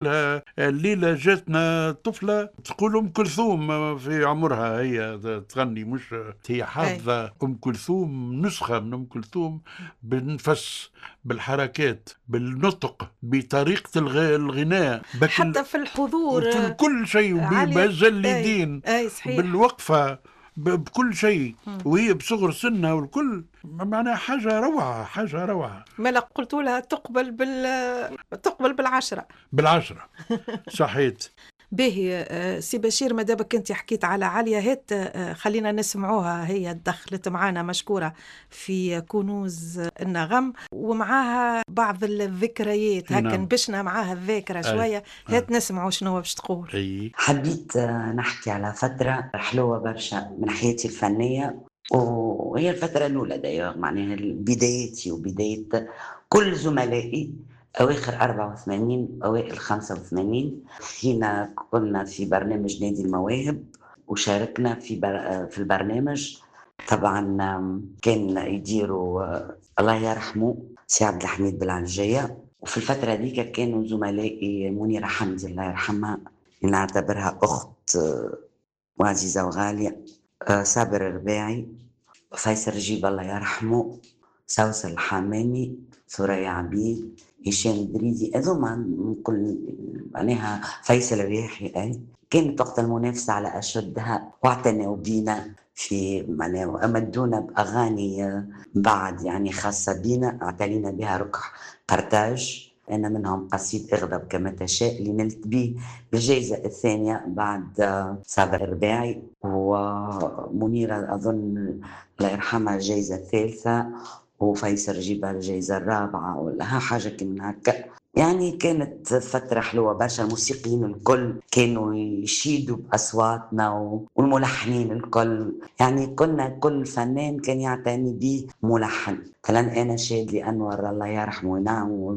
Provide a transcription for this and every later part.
لها الليلة جاتنا طفلة تقول أم كلثوم في عمرها، هي تغني، مش هي حافظة أم كلثوم، نسخة من أم كلثوم بالنفس، بالحركات، بالنطق، بطريقة الغناء، حتى في الحضور، في كل شيء، بالجلدين، بالوقفة، بكل شيء، وهي بصغر سنها والكل، معناها حاجة روعة، حاجة روعة. ما قلت لها تقبل تقبل بالعشرة. بالعشرة صحيت. باهي سي بشير، ما دابك انت حكيت على عليا، هات خلينا نسمعوها، هي دخلت معانا مشكورة في كنوز النغم ومعاها بعض الذكريات، هكا نبشنا معاها الذاكرة شوية. هات نسمعوا شنو باش تقول. حبيت نحكي على فترة حلوة برشا من حياتي الفنية، وهي الفترة الأولى دايوغ، معناها بدايتي وبداية كل زملائي، أواخر 84 أوائل 85، حين كنا في برنامج نادي المواهب وشاركنا في البرنامج. طبعا كان يديروا الله يرحمه سي عبد الحميد بالعنجية، وفي الفترة ديك كانوا زملائي منيرة حمدي الله يرحمها، نعتبرها أخت وعزيزة وغالية، صابر الرباعي، فيصل رجيب الله يرحمه، سوسن الحمامي، ثريا عبيد، هشام دريدي، هذوما كل معناها فيصل الرياحي. أي كانت وقت المنافسة على أشدها، واعتنوا بينا في معناها وأمدونا بأغاني بعد يعني خاصة بينا، اعتنينا بها ركح قرطاج. أنا منهم قصيد اغضب كما تشاء اللي نلت به الجائزة الثانية بعد صابر الرباعي، ومنيرة أظن الله يرحمها الجائزة الثالثة، وفيصل رجيبة الجائزة الرابعة ولا حاجة كما هكا. يعني كانت فترة حلوة برشا، الموسيقيين الكل كانوا يشيدوا بأصواتنا والملحنين الكل، يعني كنا كل فنان كان يعتني به ملحن. مثلا أنا شادلي أنور الله يرحمه، نعم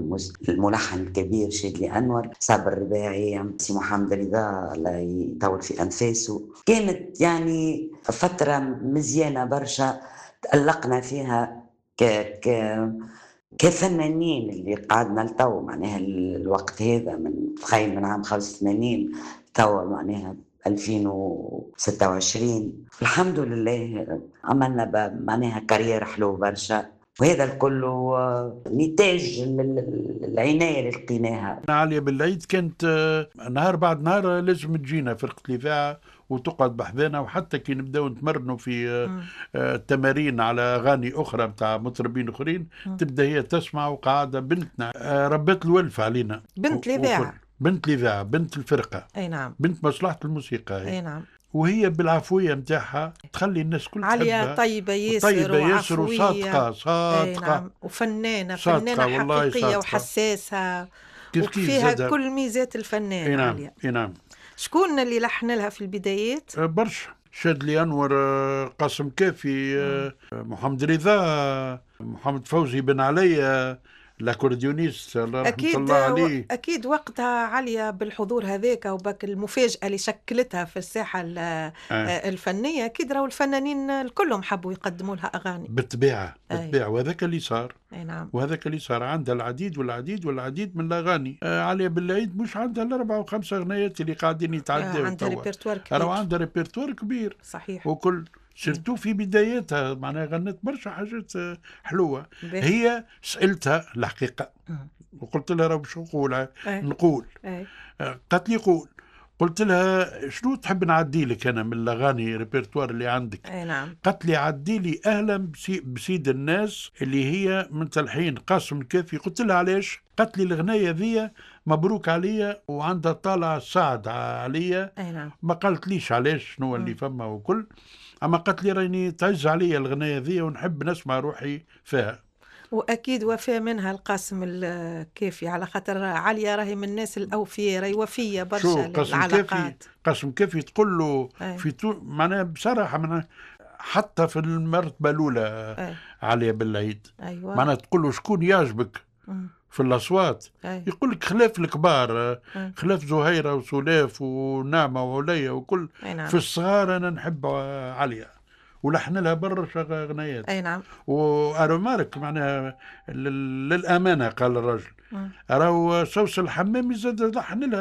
الملحن الكبير شادلي أنور، صابر الرباعي، سي محمد رضا الله يطول في أنفاسه. كانت يعني فترة مزيانة برشا تألقنا فيها ك ك كفنانين اللي قعدنا لتو، معناها الوقت هذا من تخيل من عام 85 تو معناها 2026، الحمد لله عملنا معناها carrière حلو برشا، وهذا الكل نتاج العناية اللي لقيناها. عليا بالعيد كانت نهار بعد نهار لازم تجينا فرقة الإذاعة وتقعد بحذانا، وحتى كي نبداو نتمرنوا في التمارين على اغاني اخرى نتاع مطربين اخرين تبدا هي تسمع، وقاعدة بنتنا ربت الولف علينا. بنت الاذاعة، بنت الاذاعة، بنت الفرقة، اي نعم، بنت مصلحة الموسيقى، اي نعم. وهي بالعفويه نتاعها تخلي الناس كل عليا طيبة ياسر، طيبة ياسر وصادقة، صادقة نعم، وفنانه، فنانة حقيقية وحساسه وفيها كل ميزات الفنان. اي نعم، اي نعم. شكون اللي لحن لها في البدايات؟ برشا، شادلي أنور، قاسم كافي، محمد رضا، محمد فوزي بن علي l'accordéoniste الله رحمة الله عليه. أكيد وقتها عليا بالحضور هذاك وباك المفاجأة اللي شكلتها في الساحة الفنية، أكيد راهو الفنانين كلهم حبوا يقدموا لها أغاني. بالطبيعة، بالطبيعة، وهذاك اللي صار. أي نعم. وهذاك اللي صار، عندها العديد والعديد والعديد من الأغاني. عليا بالعيد مش عندها الأربع وخمسة أغنيات اللي قاعدين يتعداو، عندها ريبرتوار كبير، عندها ريبرتوار كبير صحيح. وكل surtout في بدايتها معناها غنت برشا حاجات حلوة. هي سالتها الحقيقة وقلت لها راه باش نقول نقول، قالت لي قول. قلت لها شنو تحب نعدي لك انا من الاغاني ريبرتوار اللي عندك؟ اي نعم. قالت لي عدي لي اهلا بسيد الناس اللي هي من تلحين قاسم الكافي. قلت لها علاش؟ قالت لي الغنايه ذي مبروك عليا وعندها طالع سعد عليا. اي نعم. ما قالت ليش علاش شنو اللي فما وكل، اما قالت لي راني تعز عليا الغنايه ذي ونحب نسمع روحي فيها. واكيد وفاء منها القاسم الكافي، على خاطر عليا راهي من الناس الاوفياء، راهي وفيه برشا للعلاقات. قاسم كافي تقول له في معناها بصراحة معناها حتى في المرتبة الاولى عليا بالعيد. أيوة. معناها تقول له شكون يعجبك في الاصوات؟ يقول لك خلاف الكبار، خلاف زهيره وسلاف ونعمه وعليا وكل. نعم. في الصغار انا نحب عليا، ولحن لها برشا غنايات. اي نعم. و remarque معناها للامانه، قال الرجل راهو سوسن الحمامي زاد لحن لها.